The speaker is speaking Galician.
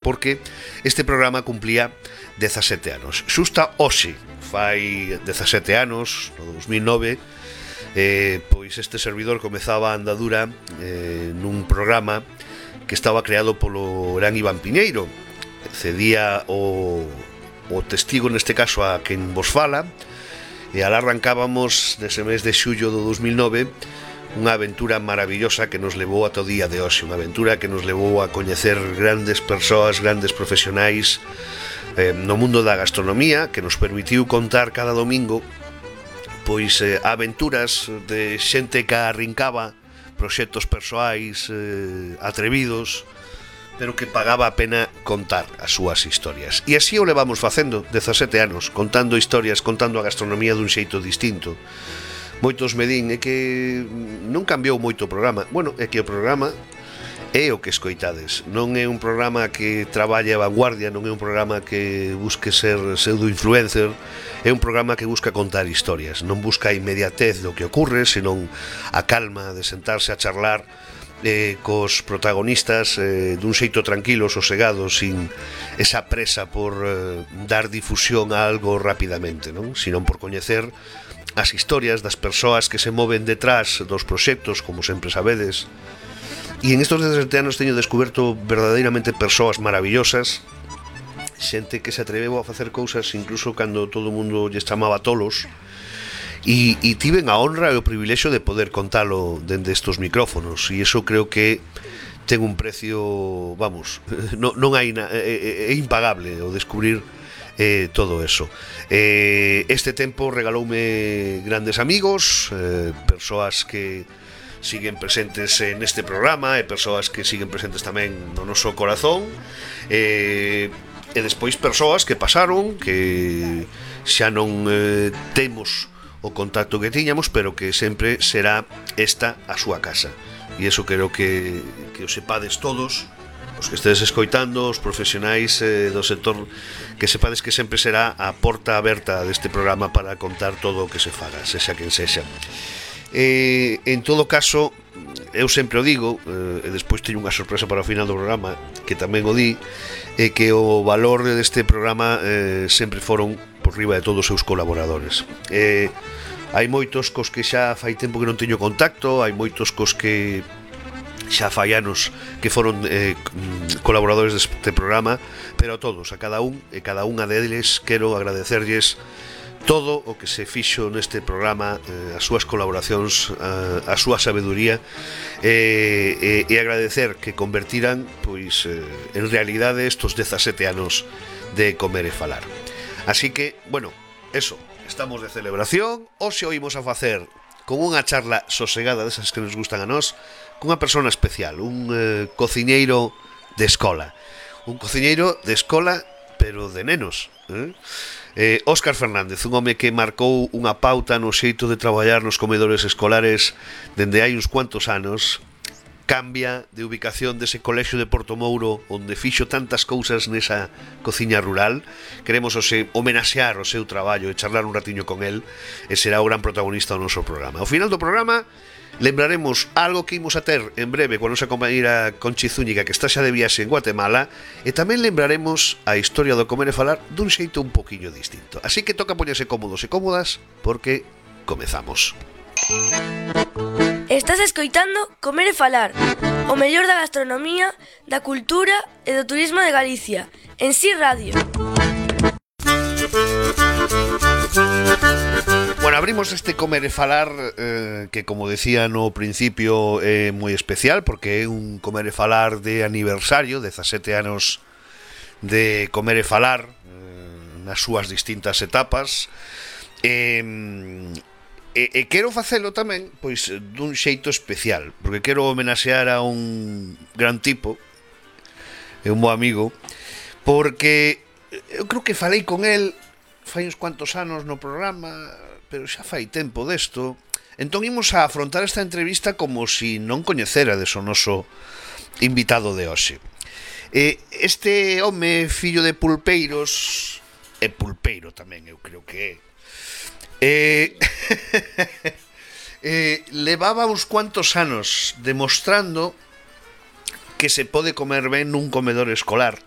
porque este programa cumplía 17 anos. Xusta hoxe, fai 17 anos, no 2009, pois este servidor comezaba a andadura nun programa que estaba creado polo gran Iván Piñeiro. Cedía o testigo neste caso a quen vos fala, e alá arrancábamos nese mes de xullo do 2009 unha aventura maravillosa que nos levou ata o día de hoxe, unha aventura que nos levou a coñecer grandes persoas, grandes profesionais no mundo da gastronomía, que nos permitiu contar cada domingo pois aventuras de xente que arrincaba proxectos persoais atrevidos, pero que pagaba a pena contar as súas historias. E así o levamos facendo 17 anos, contando historias, contando a gastronomía dun xeito distinto. Moitos me din, é que non cambiou moito o programa. Bueno, é que o programa é o que escoitades. Non é un programa que traballe a vanguardia, non é un programa que busque ser pseudo-influencer, é un programa que busca contar historias. Non busca a inmediatez do que ocurre, senón a calma de sentarse a charlar cos protagonistas dun xeito tranquilo, sosegado, sin esa presa por dar difusión a algo rapidamente, non? Senón por coñecer as historias das persoas que se moven detrás dos proxectos, como sempre sabedes. E en estos 17 anos teño descoberto verdadeiramente persoas maravillosas, xente que se atreveu a facer cousas incluso cando todo o mundo lles chamaba tolos, e tiven a honra e o privilexio de poder contalo dende estos micrófonos, e iso creo que ten un precio, vamos, non hai é impagable o descubrir todo eso. Este tempo regaloume grandes amigos, persoas que siguen presentes neste programa e persoas que siguen presentes tamén no noso corazón, e despois persoas que pasaron, que xa non temos o contacto que tiñamos, pero que sempre será esta a súa casa. E iso quero que o sepades todos, os que estedes escoitando, os profesionais do sector, que sepades que sempre será a porta aberta deste programa para contar todo o que se faga, sexa quen sexa. En todo caso, eu sempre o digo, e despois teño unha sorpresa para o final do programa, que tamén o di, que o valor deste programa sempre foron por riba de todos os seus colaboradores. Hai moitos cos que xa fai tempo que non teño contacto, hai moitos cos que xa fai anos que foron colaboradores deste programa, pero a todos, a cada un e cada unha deles quero agradecerlles todo o que se fixo neste programa, as súas colaboracións, a súa sabeduría, e agradecer que convertiran pois en realidade estos 17 anos de Comer e Falar. Así que, bueno, eso, estamos de celebración. Hoxe oímos a facer con unha charla sosegada desas que nos gustan a nós, cunha persona especial, un cociñeiro de escola. Un cociñeiro de escola, pero de nenos. Óscar Fernández, un home que marcou unha pauta no xeito de traballar nos comedores escolares dende hai uns cuantos anos. Cambia de ubicación dese colexio de Portomouro onde fixo tantas cousas nesa cociña rural. Queremos homenaxear o seu traballo e charlar un ratiño con el, e será o gran protagonista do noso programa. Ao final do programa lembraremos algo que imos a ter en breve coa nosa compañeira Conchi Zúñiga, que está xa de viaxe en Guatemala, e tamén lembraremos a historia do Comer e Falar dun xeito un poquinho distinto. Así que toca poñerse cómodos e cómodas, porque comezamos. Estás escoitando Comer e Falar, o mellor da gastronomía, da cultura e do turismo de Galicia, en Si Radio. Bueno, abrimos este Comer e Falar que, como decía no principio, é moi especial porque é un Comer e Falar de aniversario, 17 anos de Comer e Falar nas súas distintas etapas. E quero facelo tamén pois dun xeito especial, porque quero homenaxear a un gran tipo, é un bo amigo, porque eu creo que falei con el fai uns cuantos anos no programa, pero xa fai tempo desto. Entón imos a afrontar esta entrevista como si non coñecerades o noso invitado de hoxe. Este home, fillo de pulpeiros, e pulpeiro tamén eu creo que levaba uns cuantos anos demostrando que se pode comer ben nun comedor escolar,